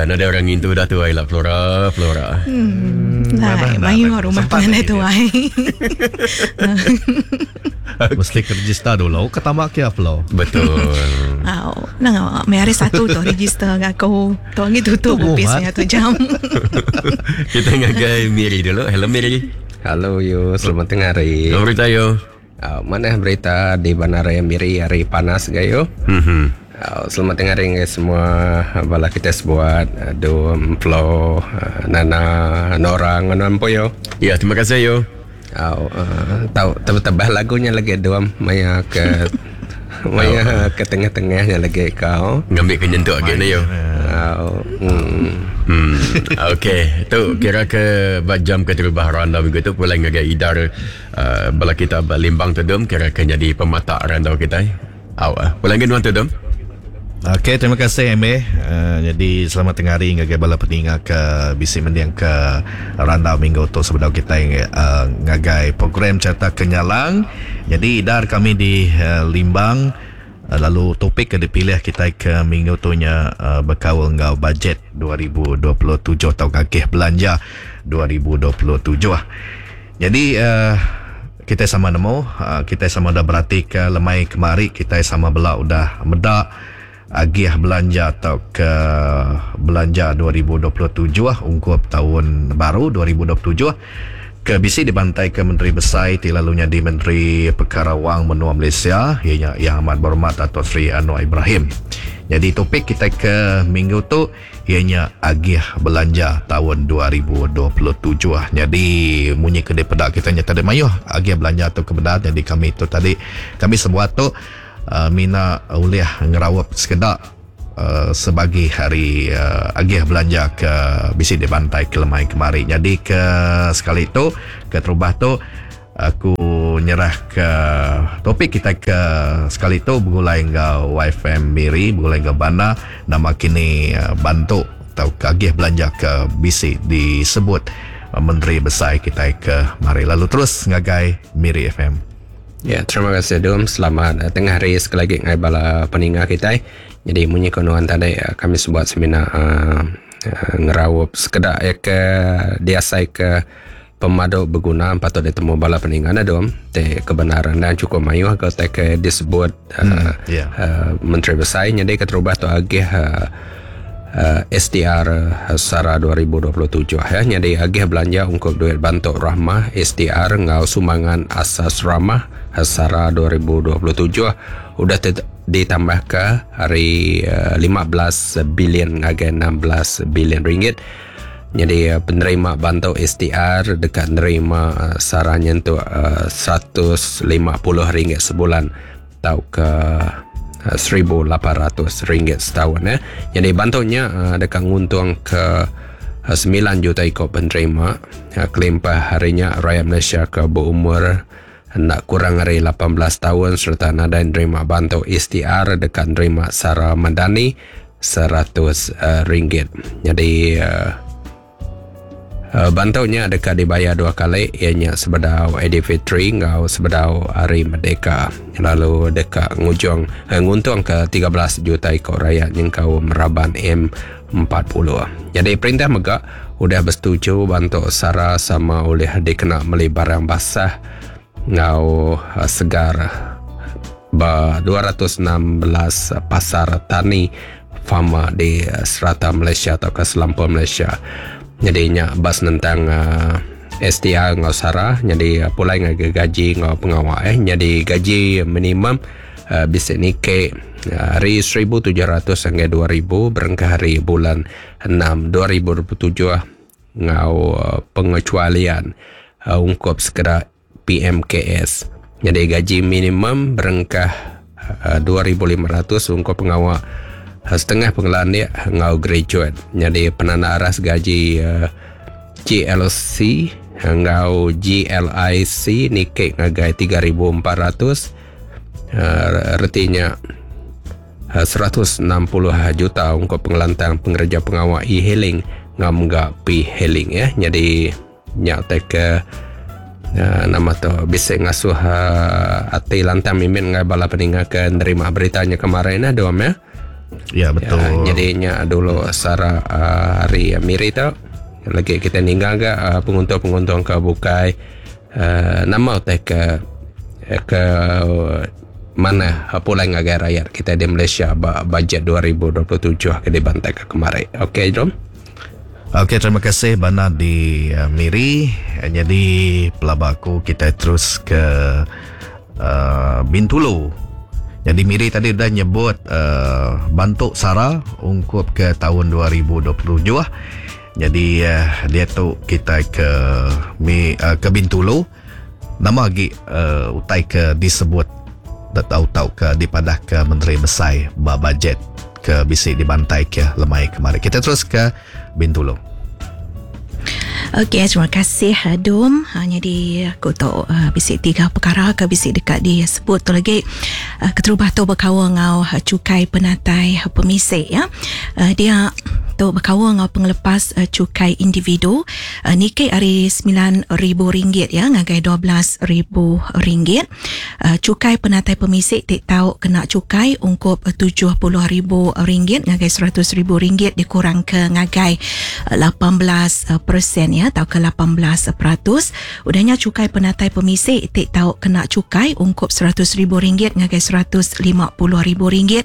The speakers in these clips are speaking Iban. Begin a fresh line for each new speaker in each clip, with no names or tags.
Ya, nadai orang ngintu dah tuai lah Flora, Flora.
Hmm. Nah, mayuh rumah penganai tuai.
Mesti ke register dulu ke tama ke Flo.
Betul.
Au, nang meh hari satu tu register ngah aku. Tu agi tutup opis meh tu jam.
Kita ngagai Miri dulu. Hello Miri.
Hello yo, selamat tengah hari.
Nama berita yo?
Uh, manah berita di Bandaraya Miri hari panas gayo.
Mhm.
Uh, selamat tengah hari ngagai semua bala kita sebuat Dum, Flo, Nana, Nora enggau nuan empu yo.
Ya, terima kasih yo.
Au uh, tau tebah lagu nya lagi Dum maya ke maya ke tengah-tengah nya lagi kau.
Ngambi ke nyentuk agi ne yo.
Au. Hmm.
Hmm. Okey, tu kira ke ba jam keterubah randau minggu tu pulai ngagai idar uh, bala kita ba Limbang tu dum kira ke nyadi pematak randau kitai. Au ah. Pulai ngagai nuan tu dum.
Okey, terima kasih MA. Uh, jadi selamat tengah hari ngagai bala peninga ke bisi mending ke randau minggu tu sebedau kitai uh, ngagai program Carta Kenyalang. Jadi idar kami di uh, Limbang Lalu topik ke dipilih kitai ke minggu tu nya bekaul enggau bajet 2027 tauka agih belanja 2027. Nyadi kitai sama nemu, kitai sama udah beratika lemai kemari kitai sama bela udah meda agih belanja tauka belanja 2027 ungkup taun baru 2027. Ke bisi dibantaika Menteri Besai ti lalu nyadi Menteri Pekara Wang Menua Malaysia iya nya Yang Amat Berhormat Dato Seri Anwar Ibrahim. Nyadi topik kitai ke minggu tu iya nya agih belanja taun 2027. Nyadi munyi ke dipeda kitai nya tadi mayuh agih belanja tu ke bendar nyadi kami tu tadi kami sebuat tu mina ulih ngeraup sekeda Sebagi ari agih belanja ke bisi dibantai ke lemai kemari. Nyadi ke sekali tu, keterubah tu aku nyerah ke topik kitai ke sekali tu begulai enggau YFM Miri, begulai enggau Banda nama kini bantu tauka agih belanja ke bisi disebut Menteri Besai kitai ke mari. Lalu terus ngagai Miri FM.
Ya, terima kasih Dum. Selamat eh, tengah hari sekali lagi ngai bala peninga kitai. Jadi munyi ko nuan tadi eh, kami sebuat semina uh, ngeraup sekeda ya ke diasai ke pemadu beguna patut ditemu bala peninga na Dum. Te kebenaran dan cukup mayuh ke te ke disebut uh, hmm, yeah. uh, Menteri Besai jadi keterubah tu agih uh, uh, STR Sara 2027 ya. Nyadi agih belanja ungkup duit bantu Rahmah STR enggau sumbangan asas Rahmah Sara 2027 udah ditambahka ari 15 bilion ngagai 16 bilion ringgit. Nyadi penerima bantu STR deka nerima sara nyentuk 150 ringgit sebulan. tauka 1800 ringgit setaun eh. Jadi bantu nya eh, deka nguntung ke 9 eh, juta iko penerima eh, kelimpah hari nya rakyat Malaysia ke berumur enda kurang ari 18 tahun serta nadai nerima bantu STR deka nerima sara madani 100 ringgit. Jadi Bantu nya deka dibayar dua kali iya nya sebedau Aidilfitri enggau sebedau Hari Merdeka lalu deka ngujung nguntungka 13 juta iku rayat nyengkaum raban M40. Nyadi perintah mega udah besetuju bantu sara sama ulih dikena meli barang basah enggau segar ba 216 pasar tani Farmer di serata Malaysia tauka selampur Malaysia. Nyadi nya ba senentang uh, STR enggau SARA nyadi uh, pulai ngagai gaji enggau pengawa eh nyadi gaji minimum uh, bisi niki uh, ari 1700 hingga 2000 berengkah hari bulan 6 2027 enggau uh, pengecualian uh, ungkup sekeda PMKS. Nyadi gaji minimum berengkah 2500 ungkup pengawa setengah pengelandik enggau graduate. Nyadi penanda aras gaji GLC enggau GLIC niki ngagai 3400 reti nya 160 juta ungkup pengelantang pengereja pengawa e-hailing enggau mega p-hailing ya. Nyadi Nya utai ke nama tu bisi ngasuh ati lantang mimit enggau bala peninga ke nerima berita nya kemarin nah dom ya.
Ya betul.
Ya, jadi nya dulu sara hari Miri tu lagi kita ninggal ga penguntung-penguntung ke bukai nama utai ke ke manah pulai ngagai rayat kita di Malaysia ba bajet 2027 ke dibantai ke kemari. Okey Dom.
Okey terima kasih bana di Miri. Jadi pelaba aku kita terus ke Bintulu. Jadi Miri tadi udah nyebut bantu sara ungkup ke tahun 2027. Jadi dia tu kita ke ke Bintulu. Nama lagi utai ke disebut atau ke dipadah ke Menteri Besai ba bajet ke bisi dibantai ke lemai kemari. Kita terus ke Bintulu.
Okey, terima kasih Dom. Jadi aku tu bisi tiga perkara ke bisi dekat disebut tu lagi. Keterubah tu berkaul ngau cukai penatai pemisik ya. Dia tu berkaul ngau pengelepas cukai individu niki ari RM9,000 ya ngagai RM12,000. Cukai penatai pemisik tik tau kena cukai ungkup RM70,000 ngagai RM100,000 dikurang ke ngagai 18% ya atau ke 18%. Udahnya cukai penatai pemisik tik tau kena cukai ungkup RM100,000 ngagai RM150,000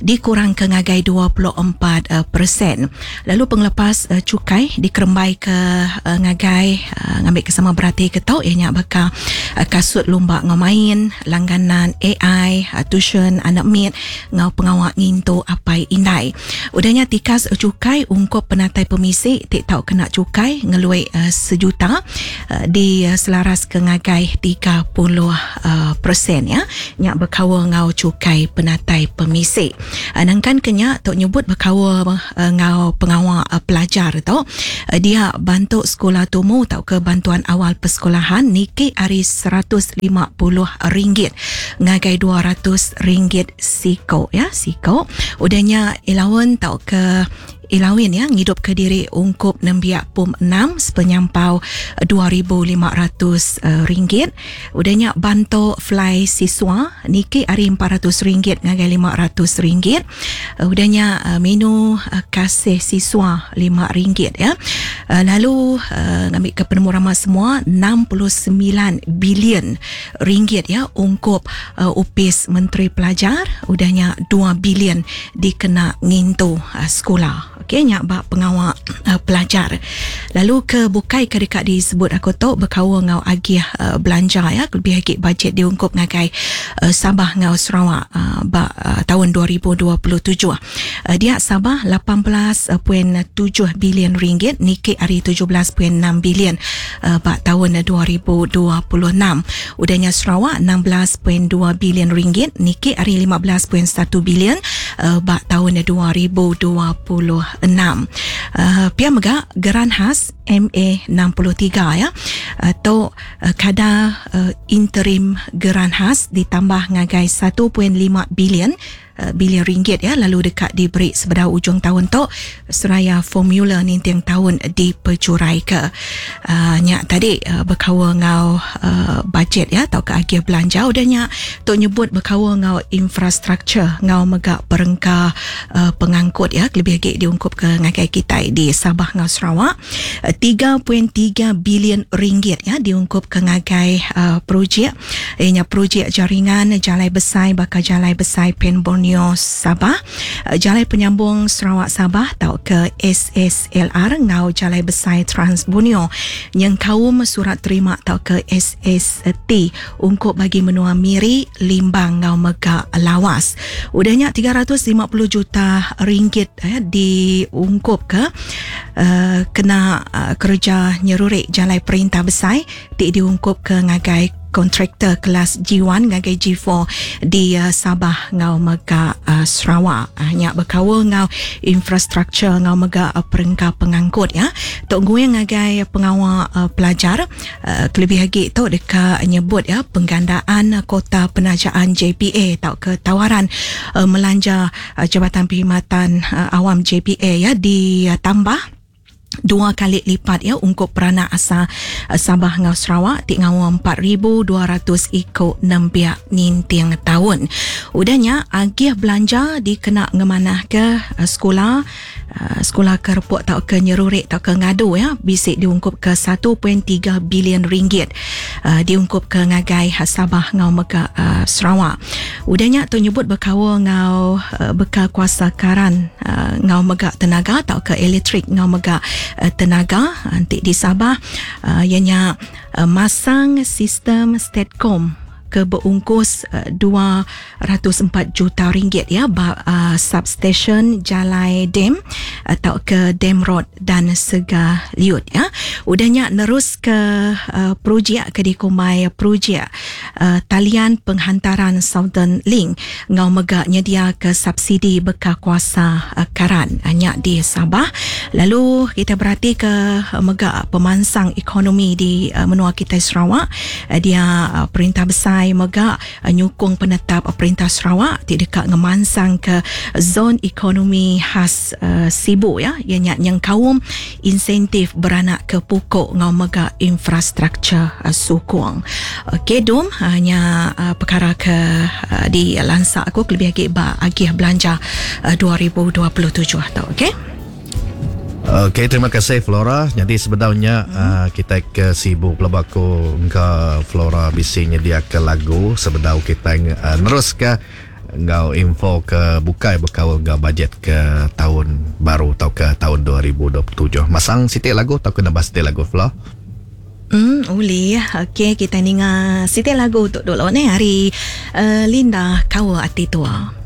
dikurang ke ngagai 24%. Lalu pengelepas cukai dikerembai ke ngagai ngambil ke sama berarti ke tau ianya bakal kasut lumba ngau main, langganan AI, tuition anak mit ngau pengawak ngintu apai indai. Udahnya tikas cukai ungkup penatai pemisik tik tau kena cukai ngeluai sejuta di selaras ke ngagai 30% ya. Nyak berkaul ngau cukai penatai pemisik. Nangkan kenya tok nyebut berkaul ngau pengawak pelajar tu dia bantu sekolah tumu tau ke bantuan awal persekolahan niki ari RM150 ngagai RM200 siko ya siko. Udahnya allowance tau ke ilawin ya ngidup ke diri ungkup nembiak pum 6 sepenyampau RM2,500. Udahnya bantu fly siswa niki ari RM400 ngagai RM500. Udahnya menu kasih siswa RM5 ya. Lalu ngambil ke penemu ramah semua 69 bilion ringgit ya ungkup upis Menteri Pelajar. Udahnya 2 bilion dikena ngintu sekolah. Okey, nyak bab pengawak pelajar. Lalu ke bukai ke dekat disebut aku tu berkaul ngau agih belanja ya, lebih lagi bajet diungkup ngagai Sabah ngau Sarawak bab tahun 2027. Dia Sabah 18.7 bilion ringgit niki ari 17.6 bilion bab tahun 2026. Udahnya Sarawak 16.2 bilion ringgit niki ari 15.1 bilion bab tahun 2026. Pia mega geran khas MA63 ya atau kadar interim geran khas ditambah ngagai 1.5 bilion ringgit ya, lalu dekat diberi sebedau ujung tahun tu seraya formula ninting tahun dipercurai ke. Nyak tadi berkaul ngau bajet ya atau ke agih belanja. Udahnya tu nyebut berkaul ngau infrastruktur ngau mega perengka pengangkut ya, lebih lagi diungkup ke ngagai kita di Sabah ngau Sarawak. 3.3 bilion ringgit ya diungkup ke ngagai projek ianya projek jaringan jalai besai bakal jalai besai Pen Borneo Sabah, jalai penyambung Sarawak Sabah atau ke SSLR ngau jalai besai Trans Borneo yang kaum surat terima atau ke SST ungkup bagi menua Miri, Limbang ngau mega Lawas. Udahnya 350 juta ringgit diungkup ke kena kerja nyerurik jalai perintah besai ti diungkup ke ngagai kontraktor kelas G1 ngagai G4 di Sabah ngau mega Sarawak. Nyak berkaul ngau infrastruktur ngau mega perengka pengangkut ya. Tok gue ngagai pengawal pelajar kelebih lagi tok dekat nyebut ya penggandaan kota penajaan JPA atau ke tawaran melanja Jabatan Perkhidmatan Awam JPA ya ditambah Dua kali lipat ya ungkup peranak asal Sabah enggau Sarawak ti ngawa 4,200 iku nembiak ninting taun. Udah nya agih belanja dikena ngemanahka sekula sekula ke repuk tauka nyerurik tauka ngadu ya bisi diungkupka 1.3 bilion ringgit diungkupka ngagai Sabah enggau mega Sarawak. Udah nya tu nyebut bekaul enggau bekal kuasa karan enggau mega tenaga tauka elektrik enggau mega tenaga enti di Sabah iya nya masang sistem Statcom ke beungkus 204 juta ringgit ya ba substation Jalai Dam tauka Dam Road dan Sega Liut ya. Udah nya nerus ke projek ke dikumbai projek talian penghantaran Southern Link enggau mega nyediaka subsidi bekal kuasa karan nya di Sabah. Lalu kita beratika mega pemansang ekonomi di menua kitai Sarawak dia perintah besai mega nyukung penetap perintah Sarawak ti deka ngemansangka zon ekonomi khas Sibu ya iya nya nyengkaum insentif beranak ke pokok enggau mega infrastruktur sukung. Okey dum nya perkara ke di lansa aku kelebih agi ba agih belanja 2027 tu okey.
Okey, terima kasih Flora. Jadi sebedaunya kita ke Sibu pelaba aku engka Flora bisi nyediaka lagu sebedau kita neruska enggau info ke bukai bekaul enggau bajet ke taun baru tauka taun 2027. Masang siti lagu tauka nambah siti lagu Flo?
Ulih. Okey, kita ninga siti lagu tu dulu neh ari Linda Kaul Ati Tua.